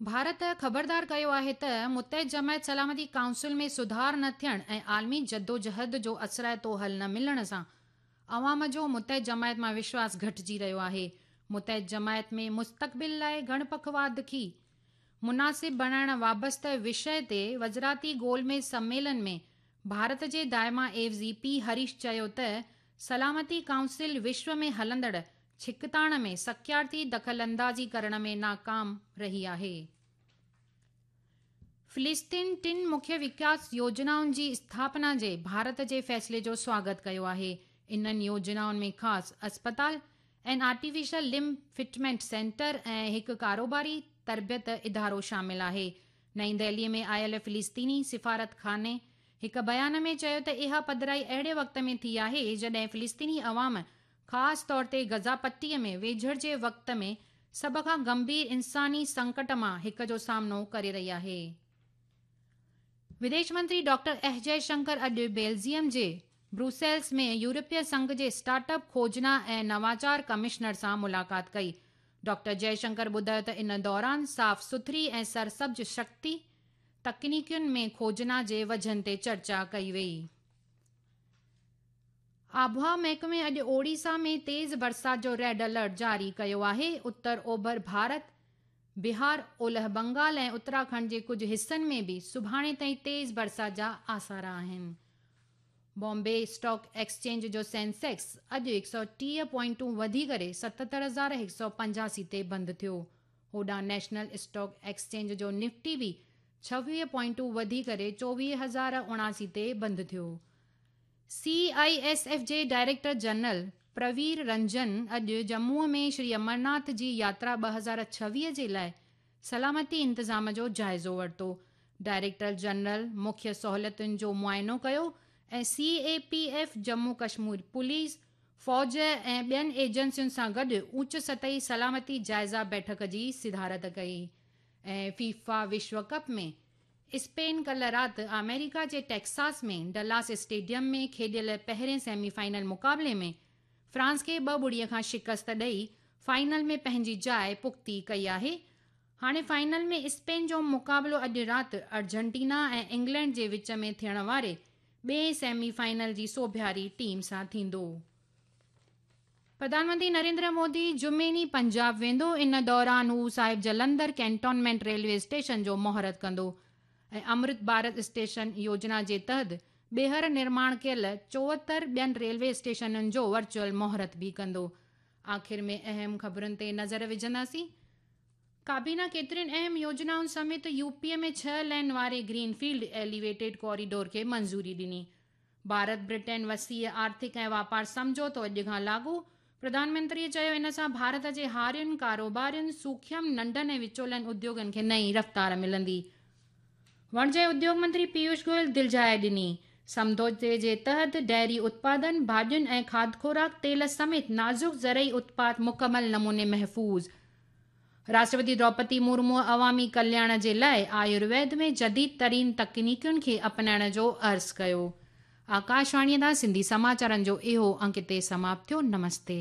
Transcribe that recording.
ڀارت خبردار ڪيو آهي ته متحد جماعت سلامتي ڪائونسل ۾ سڌار نه ٿيڻ ۽ عالمي جدوجهد جو اثرائتو حل نه ملڻ سان عوام جو متحد جماعت مان وشواس گهٽجي رهيو آهي. متحد جماعت ۾ مستقبل لاء گهڻ پکواد کي مناسب بڻائڻ وابسته وشيه تي وزراتي گول ميز سميلن ۾ ڀارت جي دائما عيوضي پي هريش چيو ته سلامتي ڪائونسل وشو ۾ هلندڙ ڇڪتاڻ ۾ سڪيارتي دخل اندازي ڪرڻ ۾ ناڪام رهي آهي. فلسطين ٽن مکيه وڪاس يوجنائن جي اسٿاپنا جي ڀارت جي فيصلي جو سواگت ڪيو آهي. انهن يوجنائن ۾ خاص اسپتال، ۽ آرٽيفيشل لمب فٽمينٽ سينٽر ۽ هڪ ڪاروباري تربيت ادارو شامل آهي. نئين دهلي ۾ آيل فلسطيني سفارتخاني هڪ بيان ۾ چيو ته اها پڌرائي اهڙي وقت ۾ ٿي آهي جڏهن فلسطيني عوام خاص طور تي غزه پٽي ۾ ويجهڙ جي وقت ۾ سڀ کان گنڀير انساني سنڪٽ مان هڪ جو سامنو ڪري رهي آهي. وديش منتري ڊاڪٽر ايس جئه شنڪر اڄ بيلجيم جي بروسيلز ۾ يورپي سنگهه جي اسٽارٽ اپ کوجنا ۽ نواچار ڪمشنر سان ملاقات ڪئي. ڊاڪٽر جئه شنڪر ٻڌايو ته ان دوران صاف سٿري ۽ سرسبز شڪتي تڪنيڪين ۾ کوجنا جي وجهن تي چرچا ڪئي وئي. آبهوا محڪمي اڄ اوڙيسا ۾ تيز برسات جو ريڊ الرٽ جاري ڪيو آهي. اتر اوڀر ڀارت، بهار، اولهه بنگال ۽ اتراکنڊ جي ڪجهه حصن ۾ به سڀاڻي تائين تيز برسات جا آثار آهن. بامبي اسٽاڪ ايڪسچينج جو سينسيڪس اڄ 130 پوائنٽون وڌي ڪري 77,185 تي بند ٿيو. هوڏانهن نيشنل اسٽاڪ ايڪسچينج جو نفٽي به 26 پوائنٽون وڌي ڪري 24,079 تي بند ٿيو. سي I S F جي ڊائريڪٽر جنرل پروير رنجن اڄ ڄمون ۾ شري امرناٿ جي ياترا 2026 جي لاء سلامتي انتظام جو جائزو ورتو. ڊائريڪٽر جنرل مکيه سهولتن جو معائنو ڪيو ۽ C A P F, Jammu Kashmir police, فوج ۽ ٻين ايجنسين سان گڏ اوچ سطحي سلامتي جائزه بيٺڪ جي صدارت ڪئي ۽ فيفا وشو ڪپ ۾ اسپين ڪلهه رات آمريڪا جي ٽيڪساس ۾ ڊلاس اسٽيڊيم ۾ کيڏيل پهرين سيمي فائنل مقابلي ۾ فرانس کي 2-0 کان شڪست ڏئي فائنل ۾ پنهنجي جاء پختي ڪئي آهي. هاڻي فائنل ۾ اسپين جو مقابلو اڄ رات ارجنٽينا ۽ انگلينڊ جي وچ ۾ ٿيڻ واري ٻئين سيمي فائنل جي سوڀياري ٽيم سان ٿيندو. پرڌان منتري نريندر مودي جمعي ڏينهن پنجاب ويندو، ان دوران هو صاحب جلندر ڪينٽونمينٽ ريلوي اسٽيشن جو مهورت ڪندو ۽ امرت ڀارت اسٽيشن يوجنا جي تحت ٻيهر نرماڻ ڪيل 74 ٻين ريلوي اسٽيشنن جو ورچوئل مهورت به ڪندو. آخر ۾ اهم خبرن تي نظر وجهنداسين. ڪابينا ڪيترين اهم يوجنائن سميت يو پي ۾ ڇهه لين واري گرين فيلڊ ايليويٽيڊ ڪوريڊور کي منظوري ڏني. ڀارت برٽين وسيع آرٿڪ ۽ واپار سمجهوتو اڄ کان لاڳو، پرڌان منتري چيو ان سان ڀارت جي هارين، ڪاروبارين، سوکيم، ننڍن ۽ وچولن اديوگن کي نئين رفتار ملندي. وڻج ۽ اديوگ منتري پيوش گويل دلجاء ڏني. سمڌوتي جي تحت ڊيري اتپادن، ڀاڄين ۽ کاڌ خوراڪ، تيل سميت نازڪ زرعي اتپاد مڪمل نموني محفوظ. راشٽرپتي دروپدي مورموء عوامي ڪلياڻ جي لاء آيورويد ۾ جديد ترين تڪنيڪين کي اپنائڻ جو عرض ڪيو. آڪاشواڻيء تان سنڌي سماچارن جو اهو انڪ هتي سماپت ٿيو. نمستي.